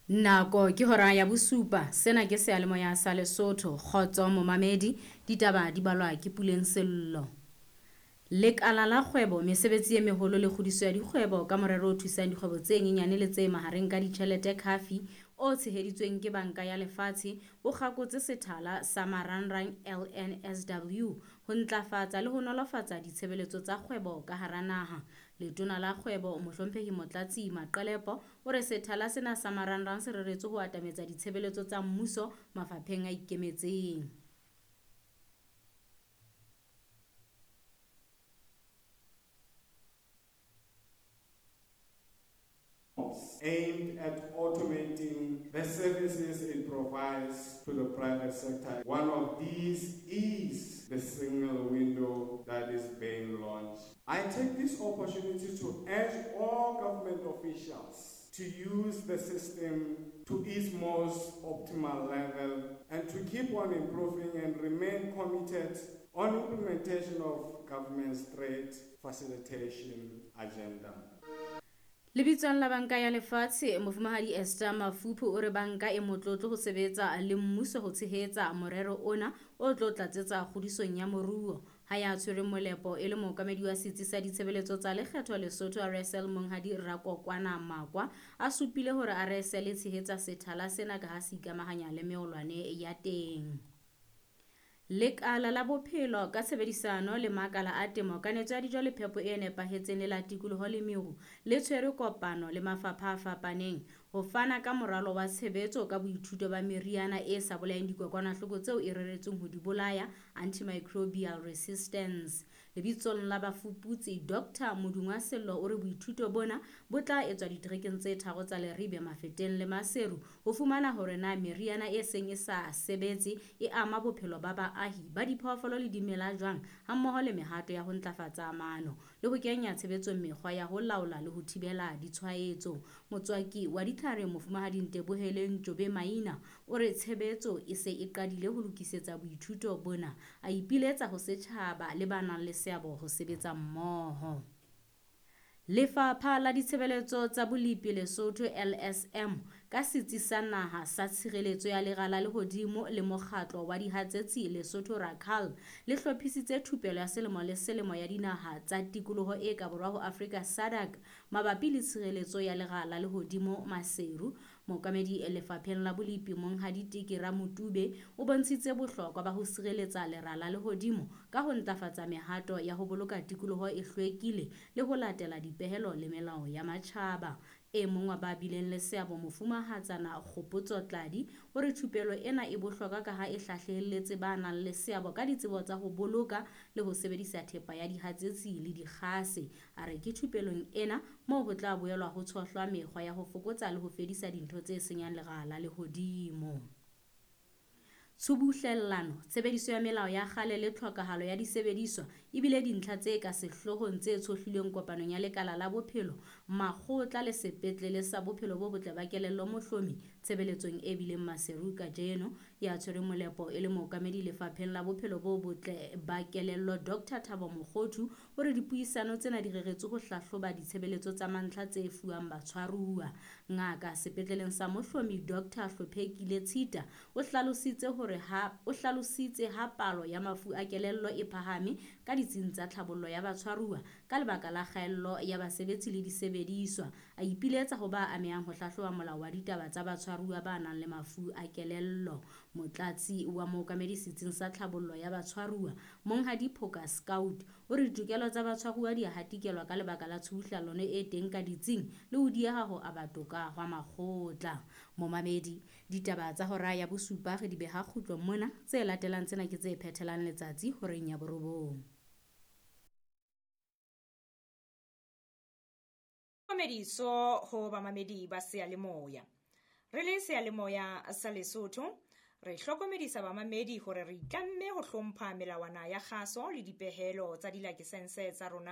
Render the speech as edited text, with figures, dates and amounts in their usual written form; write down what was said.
Nako ke hora ya bosupa. Sena ke seyalemoya sa Lesotho. Kgotso momamedi, ditaba di balwa ke Puleng Sello. Lekala la kgwebo, mesebetsi e meholo le kgodiso ya dikgwebo ka morero o thusang dikgwebo tse nyenyane le tse mahareng ka ditjhelete Khafi o tsheheditsweng ke Banka ya Lefatshe o kgakotse sethala sa marangrang LNSW ho ntlafatsa le ho nolofatsa ditshebeletso tsa kgwebo ka hara naha. Letona la Kgwebo, Mohlomphehi Motlatsi Maqelepo, o re sethala sena sa marangrang se reretswe ho atametsa ditshebeletso tsa mmuso mafapheng a ikemetseng. Aimed at automating the services it provides to the private sector. One of these is the single window that is being launched. I take this opportunity to urge all government officials to use the system to its most optimal level and to keep on improving and remain committed on implementation of government's trade facilitation agenda. Lebitsong la Banka ya Lefatshe, Mofumahadi Esther Mafuphu o re banka e motlotlo ho sebetsa le mmuso ho tshehetsa morero ona o tlo tlatsetsa kgodisong ya moruo. Ha ya tshwereng molepo e le mookamedi wa setsi sa ditshebeletso tsa lekgetho Lesotho RSL Monghadi Rakokwana Makwa a supile hore RSL e tshehetsa sethala sena ka ha se ikamahanya le meolwane ya teng. Lekala la bophelo ka tshebedisano le makala a temo, kanetso ya dijo le phepo e nepahetseng le la tikoloho le meru le tshwere kopano le mafapha a fapaneng ho fana ka moralo wa tshebetso ka boithuto ba meriana e sa bolayeng dikokwanahloko tseo e reretsweng ho di bolaya, antimicrobial resistance. Lebitsong la bafuputsi, Dr. Modungwa Sello o re boithuto bona bo tla etswa diterekeng tse tharo tsa Leribe, Mafeteng le Maseru ho fumana hore na meriana e seng e sa sebetse e ama bophelo ba baahi ba diphoofolo le dimela jwang, hammoho le mehato ya ho ntlafatsa maano le ho kenya tshebetsong mekgwa ya ho laola le ho thibela ditshwaetso. Motswaki wa ditlhare Mofumahadi Nteboheleng Jobe Maina o re tshebetso e se e qadile ho lokisetsa boithuto bona, a ipiletsa ho setjhaba le ba nang le seabo ho sebetsa mmoho. Lefapha la Ditshebeletso tsa Bolepi Lesotho LSM ka Setsi sa Naha sa Tshireletso ya Lera la Lehodimo le Mokgatlo wa Dihatsetsi Lesotho Racal le hlophisitse thupelo ya selemo le selemo ya dinaha tsa tikoloho e ka borwa ho Afrika SADC mabapi le tshireletso ya lera la lehodimo Maseru. Mookamedi lefapheng la bolepi Monghadi Teke Ramotube o bontshitse bohlokwa ba ho sireletsa lera la lehodimo ka ho ntlafatsa mehato ya ho boloka tikoloho e hlwekile le ho latela dipehelo le melao ya matjhaba. E mong wa ba bileng le seabo Mofumahatsana Kgopotso Tladi o re thupelo ena e bohlokwa ka ha e hlahlelletse ba nang le seabo ka ditsebo tsa ho boloka le ho sebedisa thepa ya dihatsetsi le dikgase. A re ke thupelong ena moo ho tla boelwa ho tshohlwa mekgwa ya ho fokotsa le ho fedisa dintho tse senyang lera la lehodimo. Tshubuhlellano, tshebediso ya melao ya kgale le tlhokahalo ya disebediswa e bile dintlha tse ka sehloohong tse tshohlilweng kopanong ya Lekala la Bophelo, Makgotla le Sepetlele sa Bophelo bo Botle ba Kelello Mohlomi tshebeletsong e bileng Maseru kajeno. Ya tshwereng molepo e le mookamedi lefapheng la Bophelo bo Botle ba Kelello Dr. Thabo Mokgothu o re dipuisano tsena di reretswe ho hlahloba ditshebeletso tsa mantlha tse fuwang batshwaruwa. Ngaka sepetleleng sa Mohlomi Dr. Hlophekile Tshita o hlalositse hore ha o hlalositse ha palo ya mafu a kelello e phahame ka ditsing tsa tlhabollo ya batshwaruwa ka lebaka la kgaello ya basebetsi le disebediswa. A ipiletsa ho ba amehang ho hlahloba molao wa ditaba tsa batshwaruwa ba nang le mafu a kelello. Motlatsi wa mookamedi setsing sa tlhabollo ya batshwaruwa Monghadi Phoka Scout o re ditokelo tsa batshwaruwa di a hatikelwa ka lebaka la tshubuhlellano e teng ka ditsing le ho dieha ho aba toka hwa makgotla. Momamedi, ditaba tsa hora ya bosupa re di beha kgutlo mona, tse latelang tsena ke tse phethelang letsatsi horeng ya borobong. Tlhokomediso ho bamamedi ba seyalemoya. Re le seyalemoya sa Lesotho, re hlokomedisa bamamedi hore re itlamme ho hlompha melawana ya kgaso le dipehelo tsa dilakesense tsa rona.